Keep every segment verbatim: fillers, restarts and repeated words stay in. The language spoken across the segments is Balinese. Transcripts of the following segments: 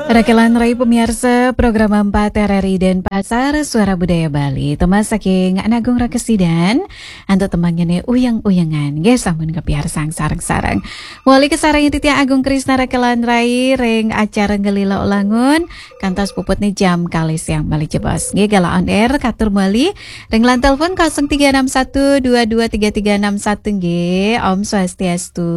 Rakelan rai pamiarsa program empat R R I Denpasar, Suara Budaya Bali. Tembang saking Agung Rakesidan, antuk tembangnya nih Uyang-Uyangan. Nggih, sampun kapiarsang sareng-sareng. Muli kasarengin titiang Agung Krisna rakelan rai ring acara Ngelila Ulangun, kantos puput nih jam kalih siang malih jebos. Nggih, galah on air katur muli ring line telepon kosong tiga enam satu dua dua tiga tiga enam satu nggih. Om Swastiastu.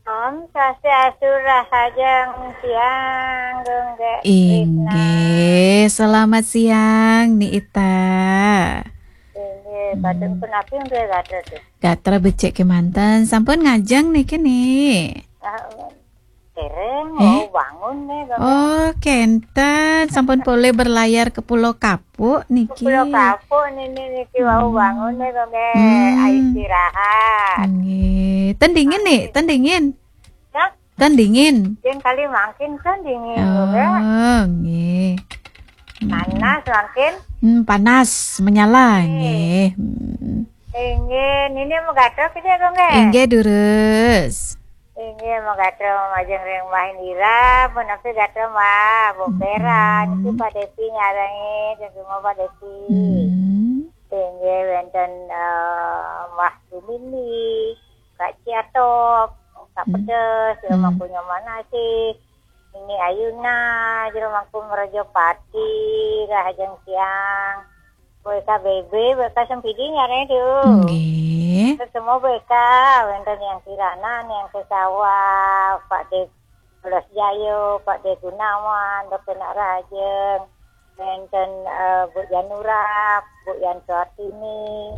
Om Swastiastu, rahajeng siang, Gung Gek Krisna. Inggih, selamat siang, Ni Ita. Inggih, badeng punapi nggih gatra tuh? Gatra becik kemanten, sampun ngajeng niki, Ni? Ah, dereng, eh? Wau bangun nih, Gung Gek. Oh, kenten, sampun polih berlayar ke Pulau Kapuk niki. Pulau Kapuk nini niki wau bangun nih, Gung Gek. Hmm. Ayo istirahat. Nggih. Ten dingin, Ni? Ten dingin? Ya? Ten dingin? Dingin kali mangkin ten dingin, Gung Gek. Oh, nggih. Hmm. Panas mangkin? Hmm, panas, menyala, nggih. Nggih. Hmm. Inggih, nini mau gatra ke dia, Gung Gek? Inggih, durus. Inggih, mau gatra majeng ring Mbah Indira, punapi gatra Mbah, Bokeran, hmm, niki Pak Depi nyarengin, semua Pak Depi. Hmm. Inggih, wenten, eh, Mbah Sumini, Kak Ciatop, Kak, hmm, Pedes, ya, hmm, Mapunya Manasih, Nini Ayuna, Jero Mangku Merajapati, rahajeng siang. B K B B, B K Sempidi nyarengin tuh. Nggih. Terus semua B K, wenten Yang Kirana, Yang Kesawa, Pak De Belas Jayo, Pak De Gunawan, Dokter Nak Rahajeng, wenten, eh, Bu Janura, Bu Yan Suartini,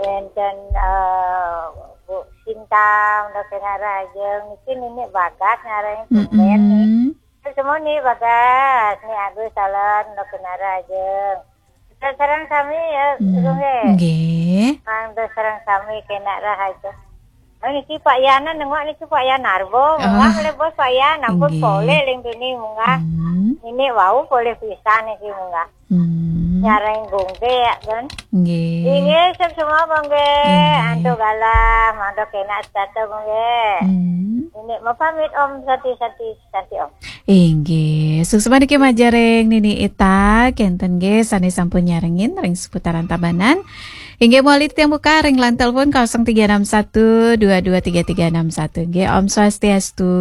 wenten, eh, Bu Sinta, Dokter Nak Rahajeng, niki nini Bagas nyarengin tumben nih. Mm-mm. Terus semua nih Bagas, nih Agus Salon, Dokter Nak Rahajeng. Sareng sami ya, hmm, Gung Gek. Nggih. Mangda sareng sami kenak rahaja. Oh, niki Pak Yana nengok niki Pak Yana Arbo, munggah, oh, le bos Pak Yana, ampun, nggih, polih ling dini munggah. Hmm. Ini wau polih pisan niki munggah. Hmm. Nyareng Gung Gek ya, kan? Nggih. Inggih, sep semua Gung Gek. Nggih. Antuk galah, mangda kenak setata Gung Gek. Hmm. Ini mau pamit Om, santi-santi, santi Om. Inggih, suksma niki majeng ring Nini Ita, kenten nggih sane sampun nyarengin ring seputaran Tabanan. Inggih, mawali tiang buka ring line telepon kosong tiga enam satu dua dua tiga tiga enam satu. Nggih, Om Swastiastu.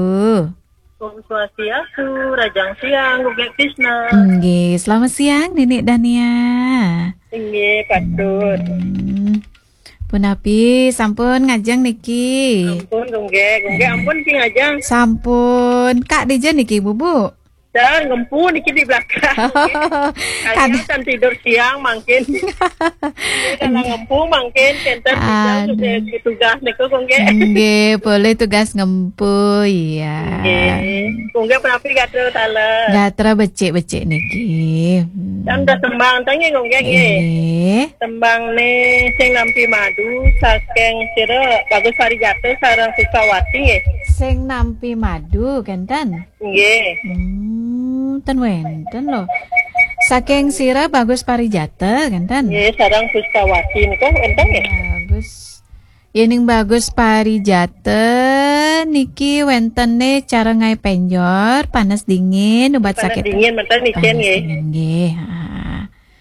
Om Swastiastu, rahajeng siang, Gung Gek Krisna. Nggih, selamat siang, Nini Dania. Inggih, patut. Hmm. Punapi, sampun ngajeng niki? Ampun, Gung Gek. Gung Gek, ampun ki ngajeng. Sampun. Kak dija niki, Bubu? Dan ngempu niki di belakang. Kalian kan tidur siang mangkin. Ini dalam ngempu mangkin, kenten tidur, aduh, sudah tugas niku, Gung Gek. Nggih, boleh tugas ngempu, iya. Nggih. Gung Gek punapi gatra taler? Gatra becik-becik niki. Hmm. Kan udah tembang, tanya Gung Gek, nggih. Nggih. Tembang ne sing nampi madu, saking sira Bagus Parijata sareng Suskawati, nggih. Sing nampi madu, kenten? Nggih. Hmm, ten wenten lho. Saking sira Bagus Parijata, kenten? Nggih, sareng Suskawati nika wenten, nggih. Bagus. Yening Bagus Parijata niki wentene cara ngae penjor, panas dingin, ubat sakit. Panas dingin, menten niki, panas nggih. Dingin, nggih. Ha.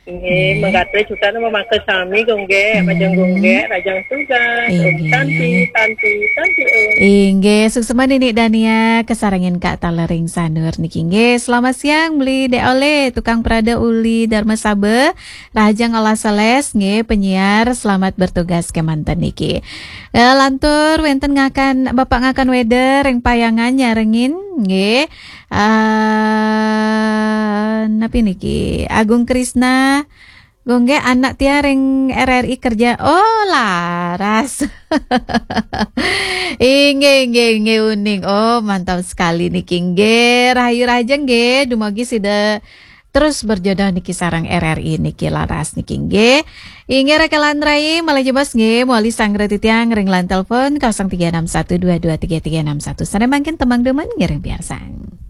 Nggih, nggih. Mangkate juta nama mangke sami, Gung Gek, majeng Gung Gek, rahajeng tugas. Om, inggih. Santi, santi, santi, Om. Inggih, suksma Nini Dania, kasarengin Kak Talering Sanur niki. Nggih, selamat siang, Beli Dek Oleh, tukang prada uli Dharma Saba, rahajeng olah sales, nggih, penyiar, selamat bertugas kemanten niki. Eh, lantur wenten ngakan, Bapak ngakan weder, ring Payangan nyarengin, nggih. Ah, napi niki? Agung Krisna, Gung Gek anak tiang ring R R I kerja. Oh, laras. Inggih, inggih, inggih, uning. Oh, mantap sekali niki, nggih. Rahayu rahajeng, nggih. Dumugi sida terus berjodoh niki sareng R R I niki, laras niki, nggih. Inggih, rakelan rai, malih jebos, nggih. Mawali sanggra titiang ring line telepon kosong tiga enam satu dua dua tiga tiga enam satu. Sane mangkin tembang demen ngiring piarsang.